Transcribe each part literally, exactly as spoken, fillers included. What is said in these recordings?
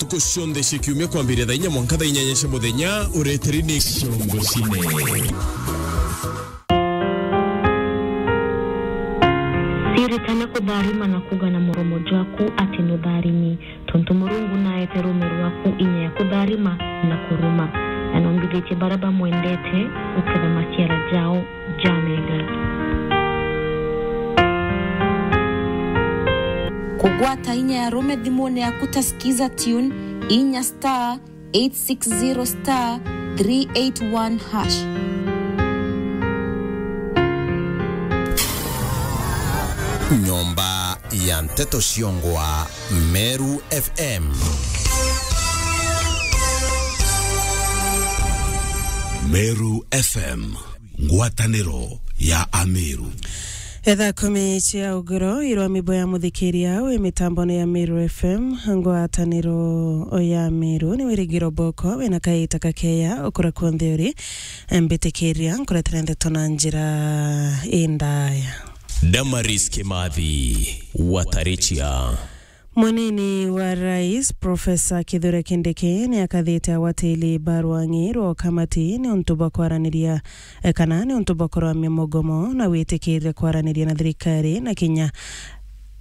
Ntuku cionthe cia kiumia kwambiria thaa inya mwanka thaa inyanya cia muthenya, ureteri ni Ciongo Cine. Ciritane kutharima na kuuga na muromo jwaku ati nutharimi, tontu Murungu naete ruume rwaku inya ya kutharima na kuruma, na numbithitie baria bamwendete guketha maciara jao jamega. Kugwata inya ya ruume thimune yaku ta Skiza Tune, inya star eight six zero star three eight one hash. Nyomba ya nteto ciongwa Meru F M. Meru F M, ngwataniro ya Ameru. Etha kumi cia ugoro irwa mibo ya muthikiria wi mitambone ya Meru F M, ngwataniro ya Meru ni wirigiro boko wina kaita kakeya ukura kunthe uri. Mbitikiria nkuretera ndeto na njira indaya. Damaris Kimathi, Watarichia. Munini wa Rais, Profesa Kithure Kindiki, ni akathite agwatiri ba rwang'i rwa ukamati ni untu bwa kwaraniria, eh, kana ni untu bwa kurwamia mugomo na witikiria kwaraniria na thirikari na kinya,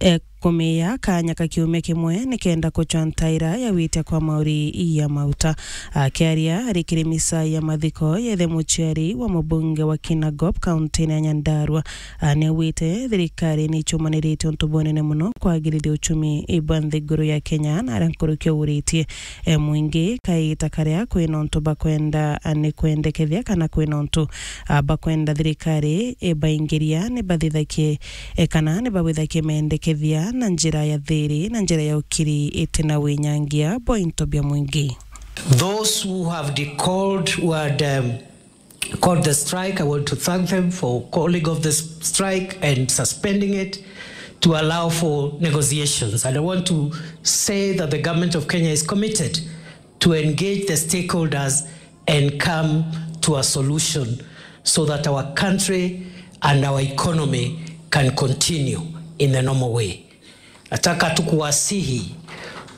eh, kumiya kanya ka kiumia kimwe ni kenda kuchwa ntaira ya witia kwa mauri ya mauta. Akiaria ari kiri misa ya mathiko ya ithe muciari wa mubunge wa Kinangop, kaunti-ini ya Nyandarua, a, ni augite thirikari ni icumaniritie untu bunene muno kwagirithia uchumi bwa nthiguru ya Kenya, na aria nkuruki auritie, e, mwingi kaita karia kwina untu bakwenda, a, ni kwendekethia kana kwina untu, a, bakwenda thirikari ibaingiria ni bathithakie, e, kana ni babwithakie mendekethia na njira ya thiri, na njira ya ukiri itina winyangia bwa into bia mwingi. Those who have decalled, who had, um, called the strike, I want to thank them for calling off the s-, strike and suspending it to allow for negotiations. And I want to say that the government of Kenya is committed to engage the stakeholders and come to a solution so that our country and our economy can continue in the normal way. Nataka tu kuwasihi,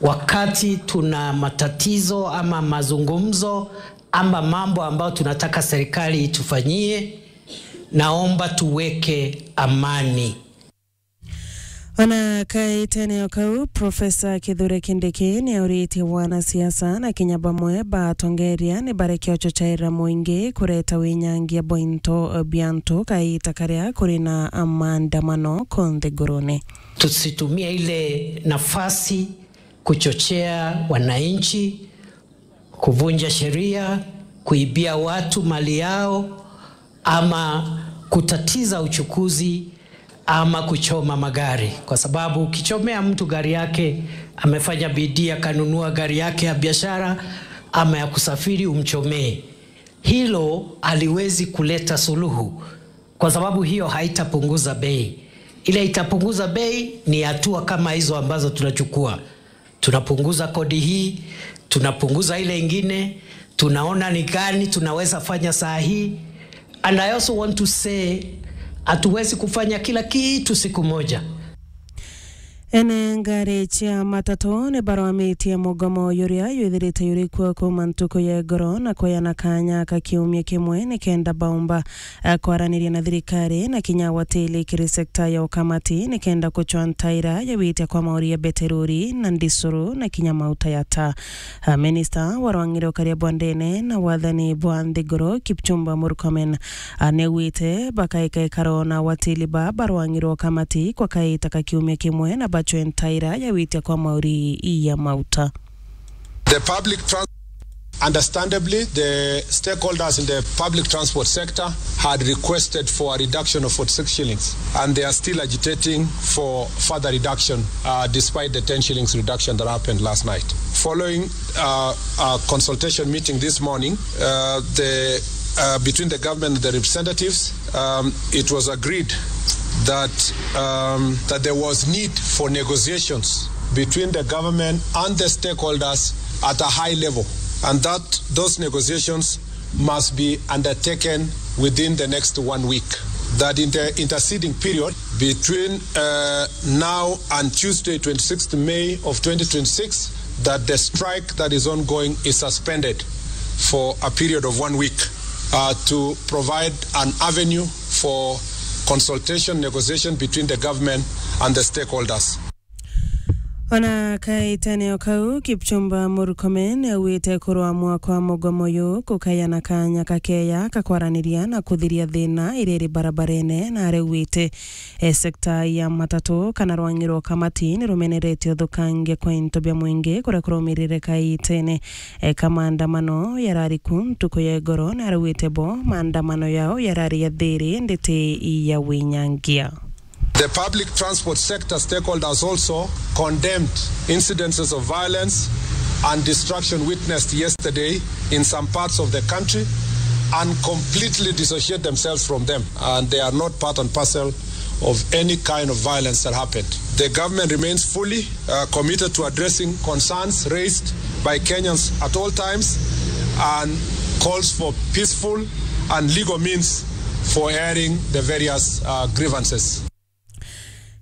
wakati tuna matatizo ama mazungumzo ama mambo ambayo tunataka serikali itufanyie, naomba tuweke amani. Ona kaitene o kau, Profesa Kithure Kindiki ni auritie wanasiasa na kinya bamwe ba atongeria ni bareke uchochaira mwingi kureta winyangia bwa into bia antu kaita karia kuri na maandamano ku nthigurune. Tusitumie ile nafasi kuchochea wananchi kuvunja sheria, kuibia watu mali yao, ama kutatiza uchukuzi, ama kuchoma magari. Kwa sababu ukichomea mtu gari yake, amefanya bidii akanunua gari yake ya biashara ama ya kusafiri, umchomee. Hilo haliwezi kuleta suluhu, kwa sababu hiyo haitapunguza bei. Ile itapunguza bei ni hatua kama hizo ambazo tunachukua. Tunapunguza kodi hii, tunapunguza ile ingine, tunaona ni gani tunaweza fanya saa hii. And I also want to say, hatuwezi kufanya kila kitu siku moja. Ene ngari cia matatu ni barwamitie mugomo juria jwithirite juri kuo kuuma ntuku ya igoro na kweana kanya ka kiumia kimwe ni kenda baumba, eh, kwaraniria na thirikari na kinya watili kiri sekta ya ukamati ni kenda kuchwa ntaira ya witia kwa mauri ya beterori na ndisuru na kinya mauta ya taa. Ah, minista wa rwang'i rwa ukaria bwa ndene na wathani bwa nthiguru, Kipchumba Murkomen, ah, niaugite bakaika ikaro na watili ba barwang'i rwa ukamati kwa kaita ka kiumia kimwe na bachwe ntaira ya witia kwa mauri ya mauta. The public trans-, understandably, the stakeholders in the public transport sector had requested for a reduction of forty-six shillings, and they are still agitating for further reduction, uh, despite the ten shillings reduction that happened last night. Following, uh, a consultation meeting this morning, uh, the, uh, between the government and the representatives, um, it was agreed that, um, that there was need for negotiations between the government and the stakeholders at a high level, and that those negotiations must be undertaken within the next one week. That in the interceding period between, uh, now and Tuesday, twenty-sixth May of twenty twenty-six, that the strike that is ongoing is suspended for a period of one week, uh, to provide an avenue for consultation, negotiation between the government and the stakeholders. Ona kaitene o kau, Kipchumba Murkomen augite kurwa mwaka wa mugomo uyu kukayana kanya kakeya ka kwaraniria na kuthiria thina iria iri barabarene, na araugite, e, sekta ya matatu kana rwang'i rwa Kamati ni rumeneretie uthukangia kwa into bia mwingi kuria kuraumirire kaitene, e, ka maandamano yarari ku ntuku ya igoro, na araugite bo maandamano yao yarari ya thiri, indi ti ya winyangia. The public transport sector stakeholders also condemned incidences of violence and destruction witnessed yesterday in some parts of the country and completely dissociate themselves from them, and they are not part and parcel of any kind of violence that happened. The government remains fully, uh, committed to addressing concerns raised by Kenyans at all times and calls for peaceful and legal means for airing the various, uh, grievances.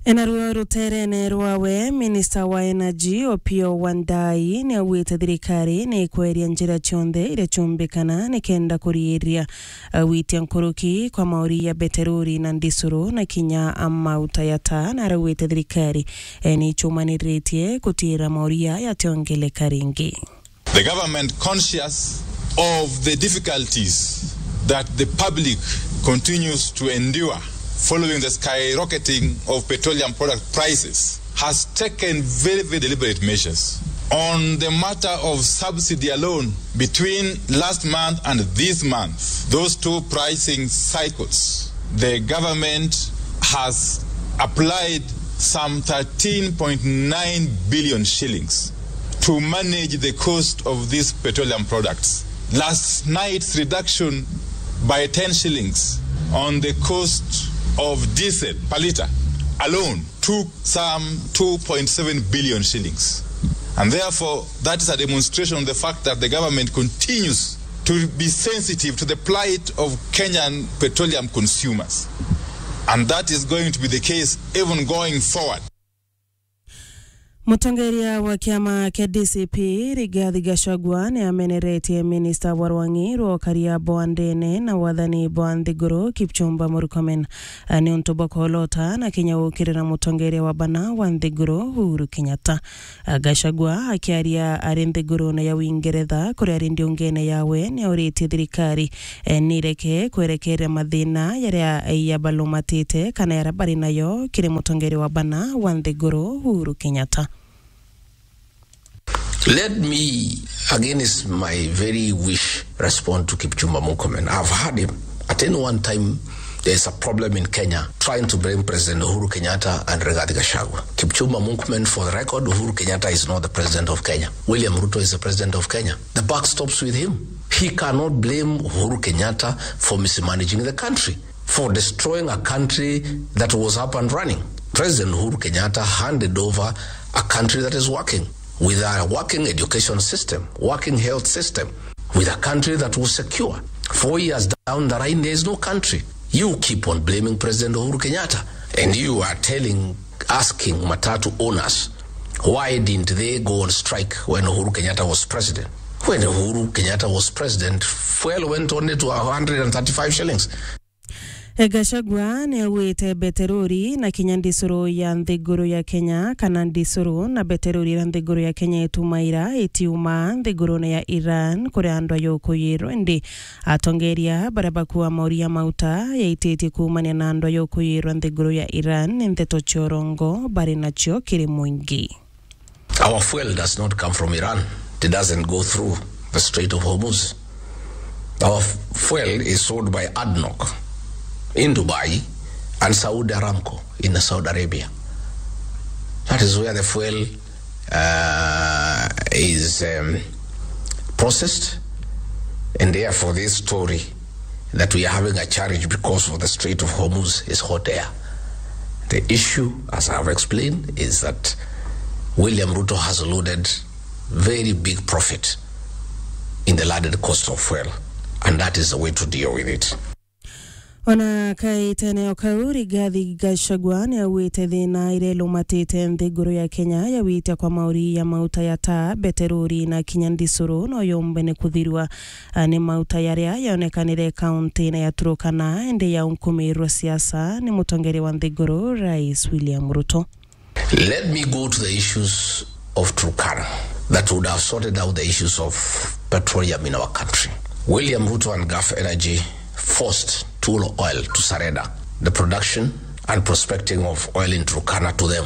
Enaruo ruterene rwawe, Minister wa Energy Opiyo Wandayi ni augite thirikari ni ikweria njira cionthe iria ciumbikana nikenda kuriiria, uh, gwitia nkuruki kwa mauri ya beterori na ndisuru na kinya mauta ya taa, na araugite thirikari, eh, ni icumaniritie gutiira mauri yati ongeleka ringi. The government, conscious of the difficulties that the public continues to endure following the skyrocketing of petroleum product prices, has taken very, very deliberate measures. On the matter of subsidy alone, between last month and this month, those two pricing cycles, the government has applied some thirteen point nine billion shillings to manage the cost of these petroleum products. Last night's reduction by ten shillings on the cost of diesel per litre alone took some two point seven billion shillings. And therefore, that is a demonstration of the fact that the government continues to be sensitive to the plight of Kenyan petroleum consumers. And that is going to be the case even going forward. Mutongeria wa kiama kia D C P, Rigathi Gachagua, ni ameneretie minista wa rwang'i rwa ukaria bwa ndene na wathani bwa nthiguru, Kipchumba Murkomen, a, ni untu bwa kolota na kinya gukirira mutongeria wa bana wa nthiguru, Uhuru Kenyatta. A, Gachagua akiaria ari nthigurune ya Uingeretha, kuria ari ndiungene yawe, ni auritie thirikari, e, ni ireke kwerekeria mathina yaria yabalumatite kana yaria bari nayo kiri mutongeria wa bana wa nthiguru, Uhuru Kenyatta. Let me, against my very wish, respond to Kipchumba Murkomen. I've heard him. At any one time, there's a problem in Kenya, trying to blame President Uhuru Kenyatta and Rigathi Gachagua. Kipchumba Murkomen, for the record, Uhuru Kenyatta is not the president of Kenya. William Ruto is the president of Kenya. The buck stops with him. He cannot blame Uhuru Kenyatta for mismanaging the country, for destroying a country that was up and running. President Uhuru Kenyatta handed over a country that is working, with a working education system, working health system, with a country that was secure. Four years down the line, there is no country. You keep on blaming President Uhuru Kenyatta, and you are telling, asking matatu owners, why didn't they go on strike when Uhuru Kenyatta was president? When Uhuru Kenyatta was president, fuel went only to a hundred and thirty-five shillings. E, Gachagua ni augite beterori na kinya ndisuru ya nthiguru ya Kenya, kana ndisuru na beterori iria nthiguru ya Kenya itumaira itiuma nthigurune ya Iran, kuria andu ayukuyirwe. Indi atongeria baria bakua mauri ya mauta yaititie kuumania na andu ayukuyirwa nthiguru ya Iran ni nteto cia urongo bari nacio kiri mwingi. Our fuel does not come from Iran. It doesn't go through the Strait of Hormuz. Our f-, fuel is sold by ADNOC in Dubai and Saudi Aramco in Saudi Arabia. That is where the fuel, uh, is, um, processed, and therefore this story that we are having a challenge because of the Strait of Hormuz is hot air. The issue, as I have explained, is that William Ruto has loaded very big profit in the landed cost of fuel, and that is the way to deal with it. Ona kaitene o kau, Rigathi Gachagua ni augite thina iria ilumatite nthiguru ya Kenya ya witia kwa mauri ya mauta ya taa, beterori na kinya ndisuru no yombe ni kuthirua, a, ni mauta yaria yonekanire kaunti-ini ya Turkana, indi yaunkumirwe siasa ni mutongeria wa nthiguru, Rais William Ruto. Let me go to the issues of Turkana that would have sorted out the issues of petroleum in our country. William Ruto and Gulf Energy forced Tullow Oil to surrender the production and prospecting of oil in Turkana to them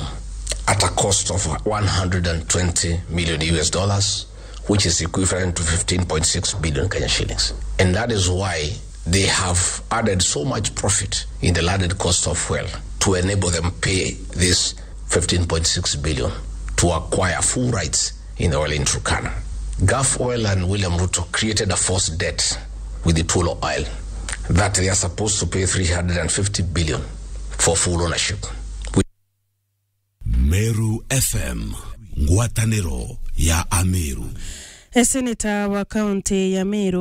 at a cost of one hundred and twenty million U S dollars, which is equivalent to fifteen point six billion Kenya shillings. And that is why they have added so much profit in the landed cost of fuel to enable them pay this fifteen point six billion to acquire full rights in the oil in Turkana. Gulf Oil and William Ruto created a false debt with the Tullow Oil that they are supposed to pay three hundred and fifty billion for full ownership. Meru F M, ngwataniro ya Ameru. E, seneta wa kaunti ya Meru